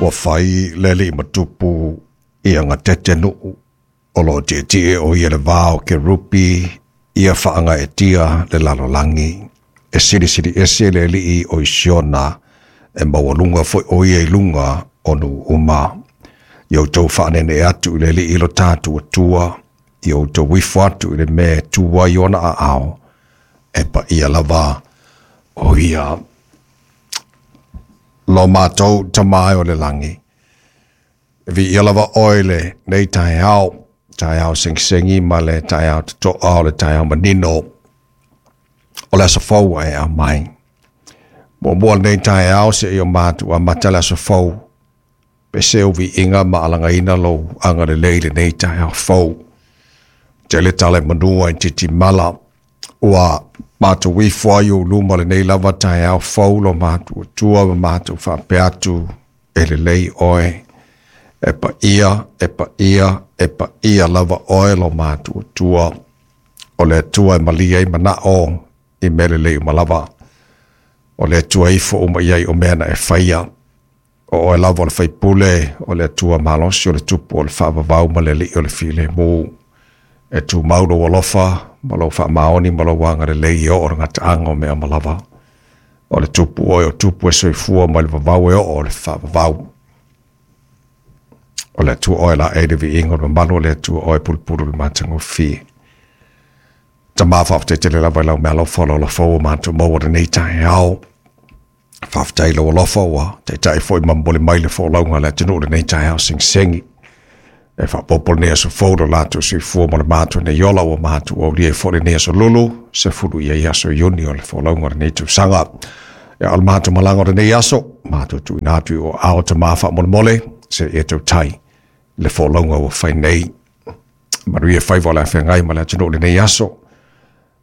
Ua fai le alii ma tupu ia gatete nuu o loo tietie o ia le va o kerupi ia faagaeetia le lalolagi e silisili ese le alii o i Siona e maualuga foi o ia i luga o nuu uma. Ia outou faaneenee atu i le Alii lo tatou Atua, ia outou ifo atu i le mea e tu ai ona aao, e paia lava o ia. Lo matou Tama e o le lagi, e viia lava oe i lenei taeao, taeao segisegi ma le taeao totoa o le taeao manino o le aso fou ua e aumai. Muamua lenei taeao seia o matou amata le aso fou, pese ou viiga ma alagaina lou agalelei i lenei taeao fou. Tele tala i manua i titimala, ua matou ifo ai i ou luma lenei lava taeao fou lo matou Atua ma matou faapea atu, e lelei oe, e paia, e paia, e paia lava oe lo matou Atua, o le Atua e malie ai manao i mea lelei uma lava. O le Atua e ifo uma i ai o mea na e faia. O oe lava o le Faipule, o le Atua malosi, o le Tupu o le faavavau ma le Alii o le filemu. E tumau lou alofa ma lou faamaoni ma lou agalelei e oo i le gataaga o mea uma lava. O le Tupu oe o tupu e soifua mai le vavau e oo i le faavavau. O le Atua oe laei le viiga o le mamalu, o le Atua oe pulupulu i le matagofie. Tama, faafetai tele lava i lau meaalofa o le ola fou ua matou maua i lenei taeao. Faafetai i lou alofa ua taitai foi ma momoli mai le folauga a le atunuu i lenei taeao segisegi. E faaopoopo lenei aso fou lo latou soifua ma le matou nei ola ua matou aulia ai foi lenei aso lulu, 10 ia i aso Iuni o le folauga o lenei tausaga. Ia, o le matou malaga o lenei aso, matou tuuina atu i o ao Tama faamolemole, se i e tautai le folauga ua fai nei. Manuia faiva o le a feagai ma le atunuu i lenei aso.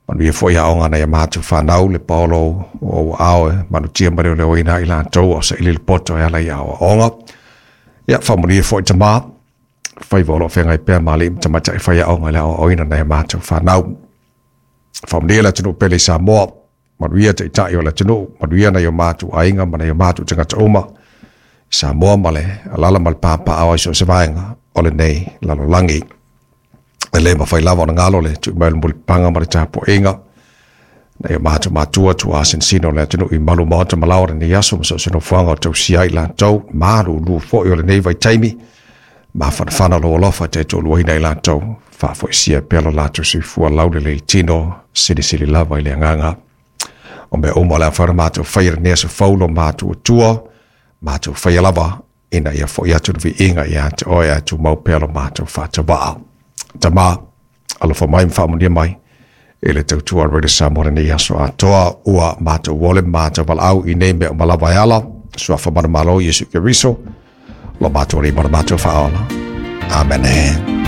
Manuia foi aoga a nai a matou fanau, le paolo o ou aao e malutia ma leoleoina ai latou a o saili le poto e ala i aoaoga. Ia, faamanuia foi Tama, faiva o lo o feagai pea ma alii ma tamaitai faiaoga i le aoaoina o nai a matou fanau. Faamanuia le atunuu pele i Samoa, manuia taitai o le atunuu, manuia nai o matou aiga ma nai o matou tagata uma i Samoa ma le alaala ma le papaaao i so o se vaega o lenei lalolagi. E le mafai lava ona galo le tui mai o le mulipapaga ma le tapuaiga nai o matou matua tuaa sinosino o le atunuu i malu maota ma laoa o lenei aso ma so o se nofoaga o tausia ai latou, malulu foi o lenei vaitaimi, mafanafana lou alofa e taitoaluaina i latou, faafoisia pea lo latou soifua laulelei i tino, silisili lava i le agaga. O mea uma o le a mafai ona matou faia i lenei aso fou lo matou Atua, matou faia lava ina ia foi atu le viiga ia te oe ae tumau pea lo matou faatauaa. Tama, alofa mai ma faamanuia mai i le tautua a Radio Samoa lenei aso atoa, ua matou ole ma matou valaau i nei mea uma lava e ala, suafa manumalo Iesu Keriso, lo matou Alii ma lo matou Faaola. Amene.